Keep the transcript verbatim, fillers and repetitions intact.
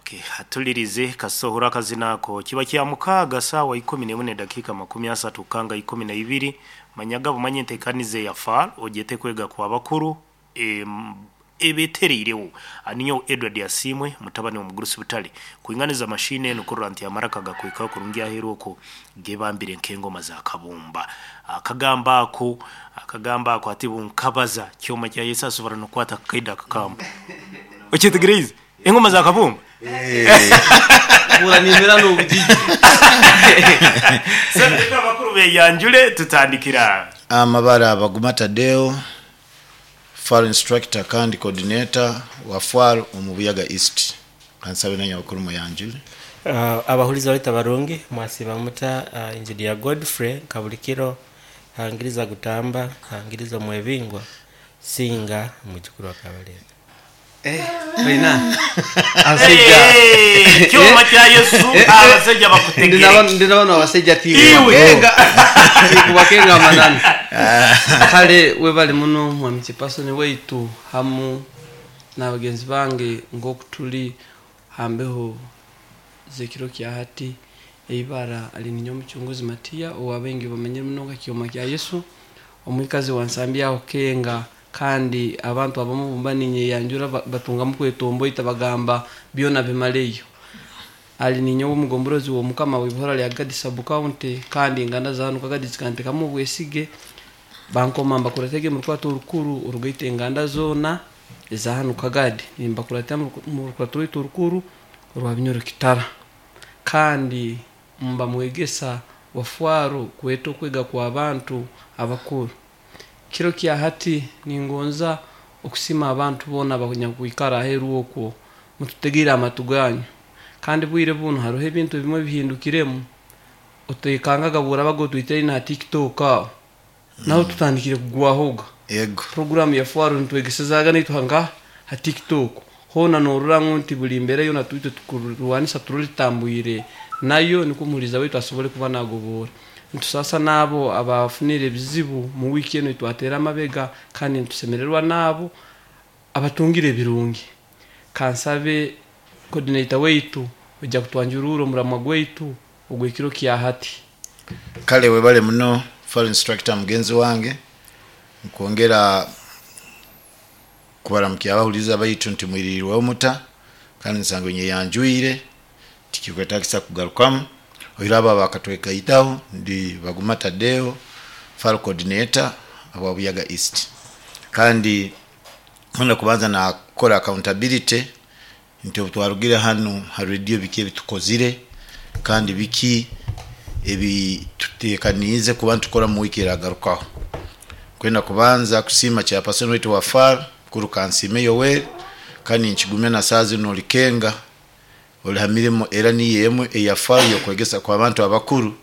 Okay, atulirize kasohora akazina ako kiba kya mukaaga saawa ikumi n'emwe n'edakiika makumi asatu kanga ikumi na ibiri. Manyaga bumanye enteekaniza eya F A R ogyete kwega kwa bakuru em, ebetereirewo. Aninyo Edward Asimwe, mutabani wa Mugurusi Butale, kuinganiza mashine eno kurora nti amaraka gakwika kurungi aheru oko gebambire nk'engoma za kabumba. Akagamba ako, akagamba ako ati bunkabaza kyoma kya Yesu asobora nokwata kaida akakamba okyetegereize engoma za kabumba. Buranimira n'obugigi. Sasa abakuru beyanjule, tutandikira. Amabara Baguma Tadeo, F A R instructor kandi coordinator wa F A R omu Buyaga East. Kansabe nanya bakuru muyanjule. Uh, abahuliza baita barungi, mwasiba muta? uh, engineer Godfrey Kabulikiro hangiriza gutamba hangiriza mwebingwa singa mujukuru wa Kabalega. Baina abasajja. Hey, kyoma kya Yesu, abasajja bakutegere. Ndi nabano abasajja. Iwe. Tikubakenga amanani. Kale webali muno, mwami Kipasoni waitu hamu n'abagenzi bange, ng'oku tuli hambeho zekiro kya hati. Eibara ali ninyo Omucunguzi Matiya, owabengi bamanyire muno nka Kyoma kya Yesu, omwikazi wansambi aho Kenga. Kandi abantu abamu bumba ninyeyanjura ba- batungamu kwetomboita, bagamba byona bimaleyo. Ali ninyo omugomborozi w'omukama w'ibihora lya Gadi sub county, kandi enganda zanu Kagadi zikantekamu obwesige, bankoma mbakuratege mu rukwato orukuru orugaita enganda zoona eza hanu Kagadi. Nimbakuratira mu rukwato rwaitu orukuru orwa Binyoro Kitara, kandi mba mwegesa wa Fwaro kweta okwega kwa bantu abakuru. Kiro kya hati ningonza okusima abantu boona abanyakwikara aheru okwo mututegere amatu ganyu. Kandi bwire buno hariho ebintu ebimwe bihindukiremu, otekangaga burabaga otwitire na TikTok aho naho tutandikire kugwahoga. Yego. Programu ya Fwaro nitwegesezaga naitwe nga ha TikTok hona, norora ngu nti buli mbere yona twite tukurwanisa turulitambwire nayo, niko omuhuriza waitu asobole kuba nagobora. Ntusasa n'abo abafunire ebizibu mu wiki eno twatera amabega, kandi nitusemererwa n'abo abatungire ebirungi. Kansabe coordinator waitu ojja kutwanjurura omuramwa gwaitu ogw'ekiro kya hati. Kale webale muno, F A R instructor mugenzi wange. Nkwongera kubaramukia abahuliza baitu nti mwiririrweho muta, kandi nsango nyeyanjwire tikikwetagisa kugarukamu. Oiraba bakatwekaitaho, ndi Baguma Tadeo, F A R coordinator wa Buyaga East. Kandi nkunda kubanza nakora accountability nti obu twarugire hanu ha radio, biki ebitukozire kandi biki ebi tutekaniize kuba nitukora mu wiki eragarukaho. Kwenda kubanza kusiima chairperson waitu wa F A R, mukuru Kansime Yoweri, kandi nkigumya na saa zino olikenga oli ha mirimo era niyo emwe eya F A R yokwegesa kwa bantu abakuru.